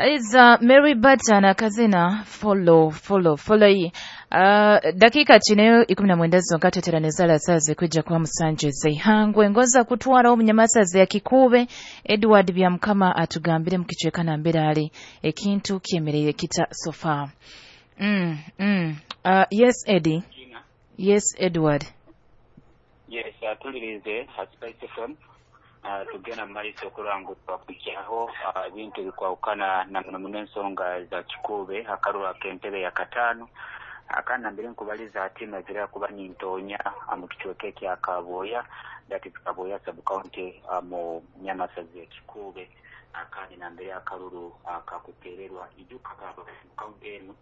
Iza Mary Bata na kazina follow follow follow. Dakika chineyo 19 zonka teteraneza lasaze kwijja kuba musanje zeihangwe ngoza kutwara omunyamasaze ya Kikube Edward Byamukama atugambire mukicweka nambere ali ekintu kyemereye kita sofa. Yes Eddie. Yes Edward. Yes, atulirize Spice FM. Tugenda mu maiso okulanga twakukyaho ebintu ebikwawukana na muno muno ensonga za Kikube akaruru ak'entebe ya kataano akana mbere nkubaliza ati mazira kuba nintonya mu kicweka ekya Kaboya, that is Kaboya sub county mu Nyamasazi ya Kikube akandi nambere akaruru akakutererwa ijuka county eno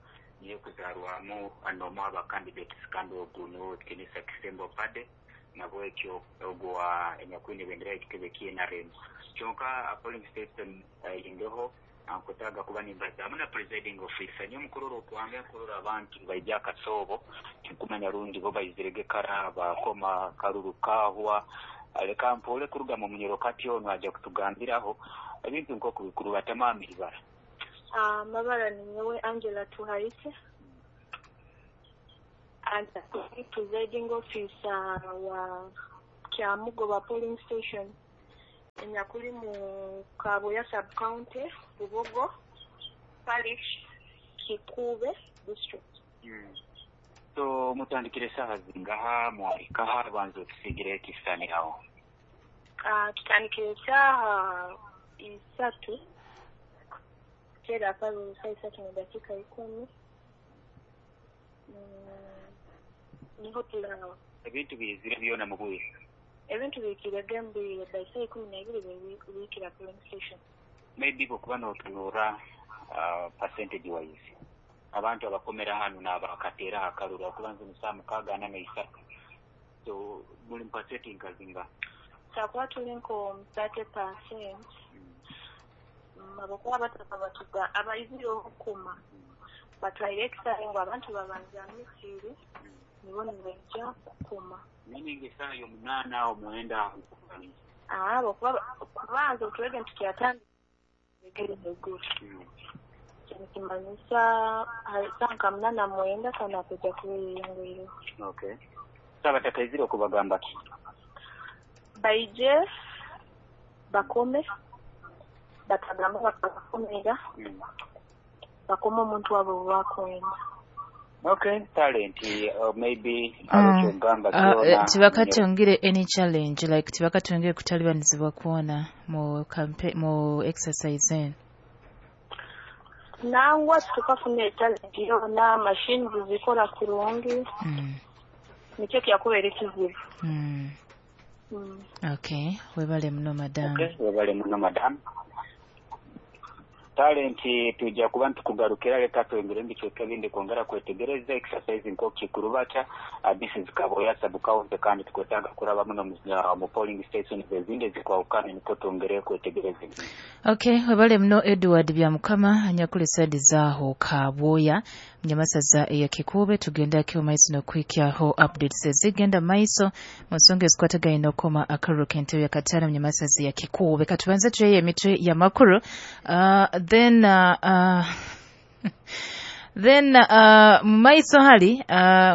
niyo kuzarwamu anomu aba candidates kandi ogu niwo Kenisa Kisembo Pade nabwekyo ogwa enyakwine bendera ekitebe ky'NRM kyonka polling station ingeho ankutaga kuba nimbazamu na presiding officer niyo mukurora okwange nkurora abantu baija akasoobo tinkumanya rundi bo baizirege kara bakoma karuru kahwa leka mpole kuruga mu munyoro kati ono aja kutugambiraho ebintu nk'okubikuru batamamiri bara. Mabara ni nyewe Angela Tuhaise and presiding officer wa Kyamugoba polling station enyakuli mu Kaboya sub county, Bubogo parish, Kikube district. So mutandikire saha zingaha mwahikaha banza tusigire ekisani aho? Tutandikire saha 3 kera pale saa 3:10. Niho tulawa ebintu bizire byona mu bwire ebintu bikirege mbwire by saa 12 bikira polling station. Maybe bokuba notunura percentage wise abantu abakomera hano n'abakatera akaruru okubanza musaa 6 na 3, so muli mpaseti nkazinga sakuba tuli nko 30%. Abakuba bataka batuga abaizire okukuma batwaire ekisaawe ngu abantu babanza misiri nibo nibaija kukuma. Meaning esaaha y'omunaana aho mwenda? Abo kubanza otwege nti kyatandika eiguru nikimanyisa saa nka 8:09 kana kuja kubeyongeireho. Okay, so abatakaizire okubagamba ki? Baije bakome batagamba bakabakomera bakoma omuntu wabo bakwenda. Okay, talent maybe abakyogamba kyona tibakatongire any challenge like tibakatongire kutalibanizibwa kwona mu mu exercise eno? Nangwa tukafuna challenge yona, machines zikora kurungi. Nikyo kyakubeera ekizibu. Okay, webale muno madam. Okay, webale muno madam. Talent tujja kuba ntukugarukira leka twengere mbicweka ebindi kwongera kwetegereza exercise nk'okikurubata. This is Kaboya sub county kandi tukwetaaga kuraba muno mu polling station ezindi zikwawukana niko twongere kwetegereza. Okay, webale muno Edward Byamukama anyakuli side zaaho Kaboya Nyamasaza eya Kikube. Tugenda kyo maiso n'okwikyaho updates ezigenda maiso mu nsonga ezikwatagaine n'okukoma akaruru k'entebe ya kataano Nyamasaza ya Kikube. Katubanze tuyeyo emitwe y'amakuru then mu maiso hali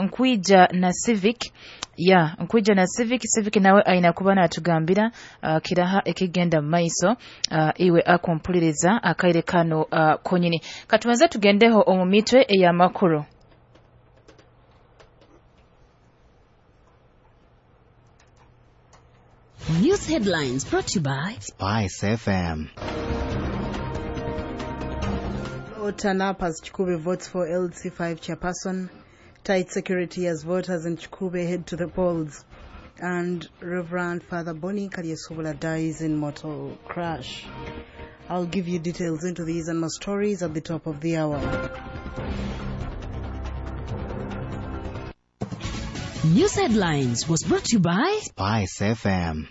nkwija na Civic ya nkwija na Civic nawe aina kuba natugambira kiraha ekigenda mu maiso iwe akumpuliriza akaire kano konyini. Katubanze tugendeho omu mitwe ey'amakuru. News headlines brought to you by Spice FM. Turn up as Kikube votes for LC5 chairperson. Tight security as voters in Kikube head to the polls. And Reverend Father Bonnie Kalyesobola dies in motor crash. I'll give you details into these and more stories at the top of the hour. News headlines was brought to you by Spice FM.